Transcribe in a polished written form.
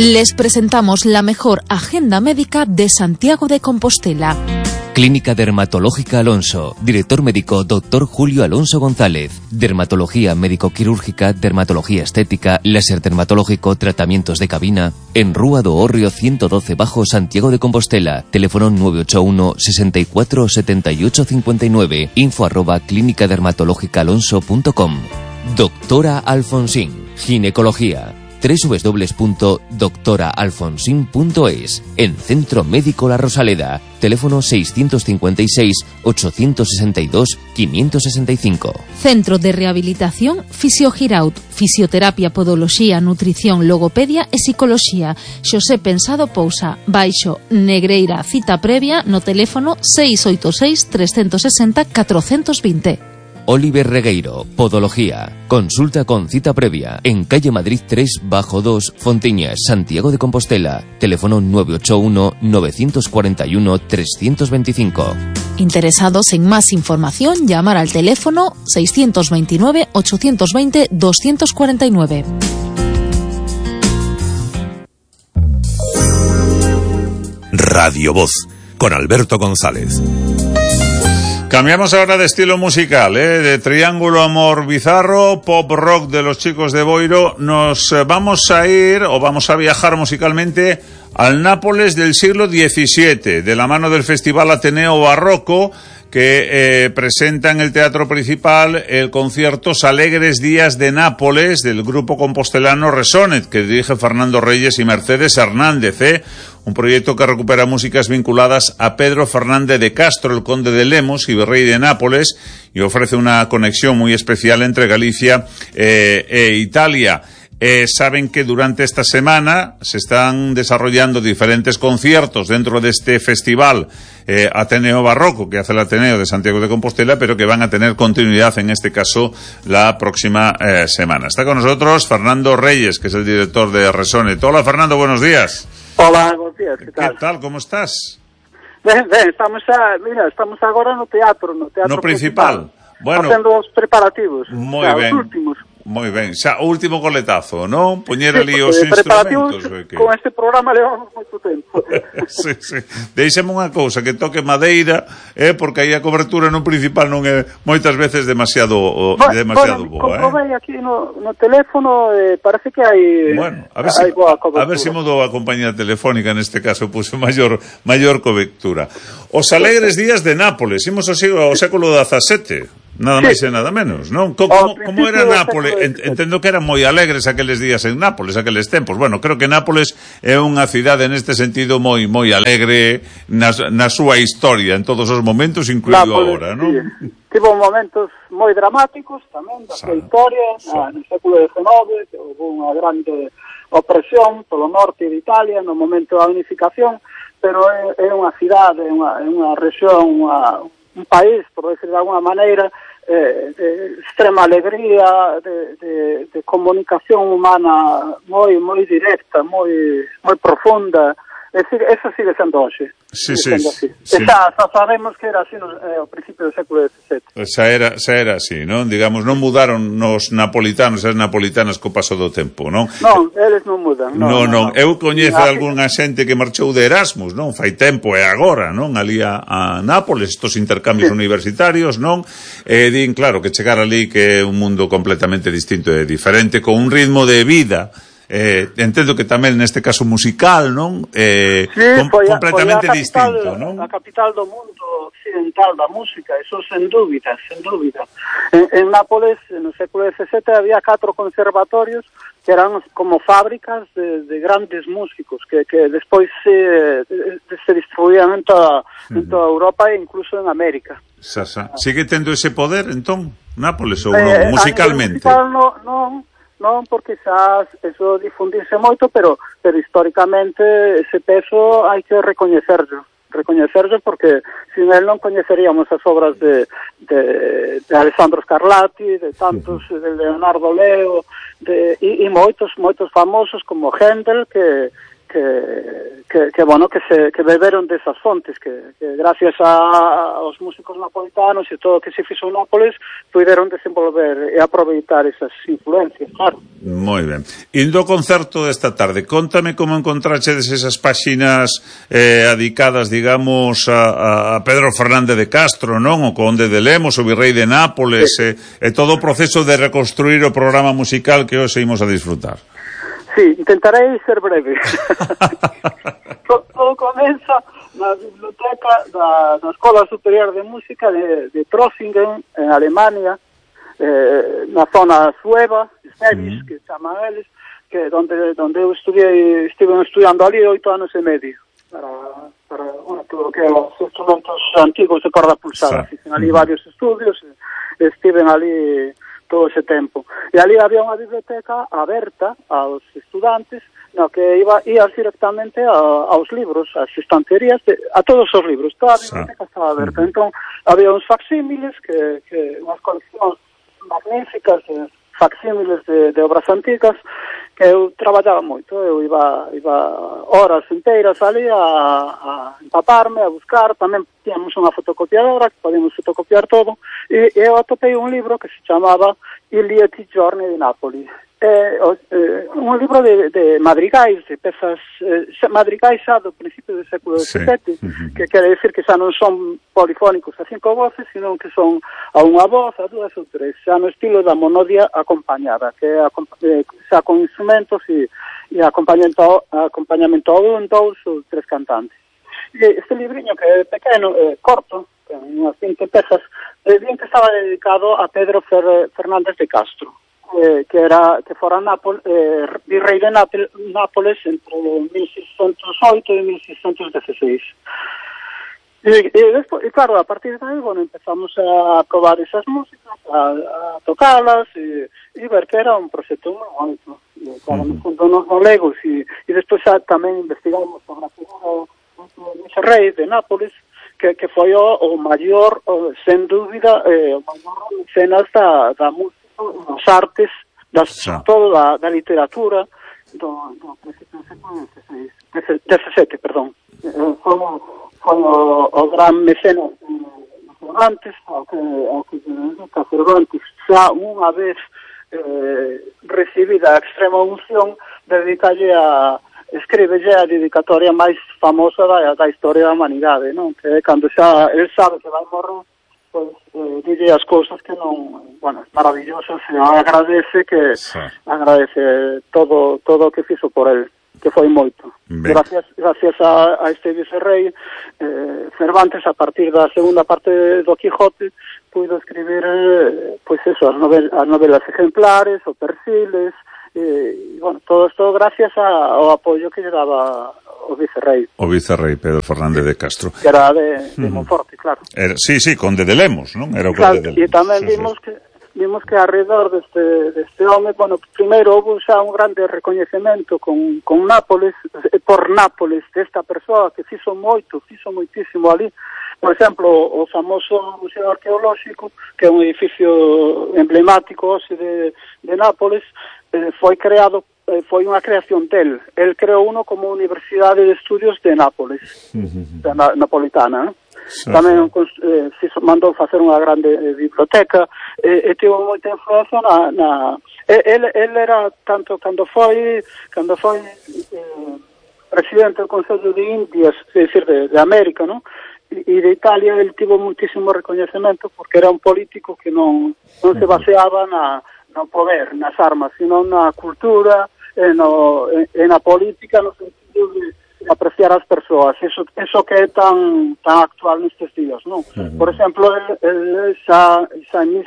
Les presentamos la mejor agenda médica de Santiago de Compostela. Clínica Dermatológica Alonso. Director médico Dr. Julio Alonso González. Dermatología médico-quirúrgica, dermatología estética, láser dermatológico, tratamientos de cabina. En Rúa do Hórreo 112 Bajo, Santiago de Compostela. Teléfono 981 64 78 59. info@clínicadermatológicaalonso.com. Doctora Alfonsín. Ginecología. www.doctoraalfonsin.es. En Centro Médico La Rosaleda. Teléfono 656 862 565. Centro de Rehabilitación Fisiogiraut. Fisioterapia, podoloxía, nutrición, logopedia e psicoloxía. Xosé Pensado Pousa. Baixo Negreira. Cita previa no teléfono 686 360 420. Oliver Regueiro, Podología. Consulta con cita previa en calle Madrid 3 bajo 2, Fontiñas, Santiago de Compostela. Teléfono 981 941 325. Interesados en más información, llamar al teléfono 629 820 249. Radio Voz, con Alberto González. Cambiamos ahora de estilo musical, de Triángulo Amor Bizarro, pop rock de los Chicos de Boiro. Nos vamos a ir, o vamos a viajar musicalmente al Nápoles del siglo XVII, de la mano del Festival Ateneo Barroco, que presenta en el Teatro Principal el concierto Alegres Días de Nápoles del grupo compostelano Resonet, que dirige Fernando Reyes y Mercedes Hernández, un proyecto que recupera músicas vinculadas a Pedro Fernández de Castro, el conde de Lemos y virrey de Nápoles, y ofrece una conexión muy especial entre Galicia e Italia. Saben que durante esta semana se están desarrollando diferentes conciertos dentro de este festival Ateneo Barroco, que hace el Ateneo de Santiago de Compostela, pero que van a tener continuidad, en este caso, la próxima semana. Está con nosotros Fernando Reyes, que es el director de Resonet. Hola, Fernando, buenos días. Hola, buenos días, ¿qué tal? ¿Qué tal? ¿Cómo estás? Ben, estamos agora no teatro principal. Bueno, facendo os preparativos. Moi ben. Os últimos. Moi ben, xa o último coletazo, non? Poñer ali os preparativos instrumentos. Con este programa levamos moito tempo. Sí. Deixame unha cousa, que toque madeira, porque aí a cobertura no principal non é moitas veces demasiado boa, Comprobei aquí no teléfono, parece que hai boa cobertura. A ver se mudou a compañía telefónica, neste caso puse maior cobertura. Os Alegres Días de Nápoles, imos ao século XVII. Nada máis e nada menos, non? Como era Nápoles? Entendo que eran moi alegres aqueles días en Nápoles, aqueles tempos. Bueno, creo que Nápoles é unha cidade neste sentido moi alegre na súa historia, en todos os momentos, incluído agora, non? Sí. Tivo momentos moi dramáticos tamén da súa historia, no século XIX, que houve unha grande opresión polo norte de Italia no momento da unificación, pero é unha cidade, unha rexión, un país, por decir de alguna maneira, de extrema alegría, de comunicación humana moi directa, moi profunda. É dicir, esa sigue sendo hoxe. Sí. Xa sabemos que era así ao principio do século XVII. Xa era así, non? Digamos, non mudaron nos napolitanos e as napolitanas co paso do tempo, non? Non, eles non mudan. Non. Eu coñezo algunha xente que marchou de Erasmus, non? Fai tempo e agora, non? Ali a Nápoles, estos intercambios universitarios, non? Din, claro, que chegar ali que é un mundo completamente distinto e diferente, con un ritmo de vida entendo que tamén neste caso musical, non? Completamente distinto, non? A capital do mundo occidental da música, eso sen dúbida. En Nápoles, no século XVII, había 4 conservatorios que eran como fábricas de grandes músicos que despois se distribuían en toda Europa e incluso en América. Sigue tendo ese poder, entón, Nápoles, ou non, musicalmente? Non, porque xa eso difundirse moito, pero históricamente ese peso hai que recoñecerlo porque sin él non coñeceríamos as obras de Alessandro Scarlatti, de tantos, de Leonardo Leo, e moitos famosos como Händel, que bueno, que beberon desas fontes, que gracias aos músicos napolitanos e todo o que se fixo en Nápoles, puderon desenvolver e aproveitar esas influencias, claro. Moi ben. Indo ao concerto desta tarde, contame como encontrachedes esas páxinas adicadas, digamos, a Pedro Fernández de Castro, non? O conde de Lemos, o virrei de Nápoles, e todo o proceso de reconstruir o programa musical que hoxe imos a disfrutar. Sí, intentarei ser breve. Todo comeza na biblioteca da Escola Superior de Música de Trossingen, en Alemania, na zona sueva, Schwäbisch, que chaman eles, que donde eu estive estudiando ali 8 anos e medio, para todo o que os instrumentos antigos de corda pulsada. Fixen ali varios estudios, estiven ali todo ese tempo. E ali había unha biblioteca aberta aos estudantes, no que ías directamente aos libros, ás estanterías, a todos os libros. Toda a biblioteca estaba aberta. Entón, había uns facsímiles, unhas coleccións magníficas, facsímiles de obras antigas, que eu traballaba moito. Eu iba horas inteiras ali a empaparme, a buscar. Tamén tínhamos unha fotocopiadora que podíamos fotocopiar todo, e eu atopei un libro que se chamaba Il lieti giorni di Napoli. Un libro de madrigais, de pezas madrigais xa do principio do século XVII, que quere decir que xa non son polifónicos a 5 voces, sino que son a unha voz, a 2 ou 3, xa no estilo da monodia acompañada, que é xa con instrumentos e acompañamento a 1, 2 ou 3 cantantes. E este libriño, que é pequeno, corto, con unhas 20 pezas, bien que estaba dedicado a Pedro Fernández de Castro, que fora virrei de Nápoles entre 1608 e 1616. E claro, a partir de aí, bueno, empezamos a probar esas músicas, a tocalas e ver que era un proxecto moi bonito. Claro, no fundo nos galegos e despois tamén investigamos sobre a figura do virrei de Nápoles, que foi o maior, sen dúbida, o maior mecenas da música, das artes, toda da literatura do principio do século XVII, perdón. Foi o gran mecenas Cervantes, ao que Cervantes xa unha vez recibida a extrema unción, dedicalle escríbelle a dedicatoria máis famosa da historia da humanidade, non? Que cando xa el sabe que vai morrer, pois dille as cousas que non, bueno, es maravilloso, se agradece todo o que fixo por el, que foi moito. Gracias a este vicerrei, Cervantes, a partir da segunda parte do Quijote, puido escribir, pois eso, as novelas ejemplares, o Persiles, e, bueno, todo isto gracias ao apoio que lle daba o vicerrei. O vicerrei Pedro Fernández de Castro. Que era de Monforte, claro. Sí, conde de Lemos, non? Era o conde de Lemos. E tamén vimos que alrededor deste home, bueno, primeiro houve xa un grande recoñecemento con Nápoles, por Nápoles, desta persoa que fixo moitísimo ali. Por exemplo, o famoso Museo Arqueolóxico, que é un edificio emblemático de Nápoles, foi creado, foi unha creación del. El creou uno como Universidade de Estudios de Nápoles, napolitana, tamén mandou facer unha grande biblioteca, e tivo moita influencia el era tanto cando foi presidente do Consello de Indias, é dicir, de América, non? E de Italia, el tivo muitísimo recoñecemento porque era un político que non se baseaba no poder, nas armas, sino na cultura, na política, no sentido de apreciar as persoas. Eso que é tan actual nestes días, non? Por exemplo, el xa en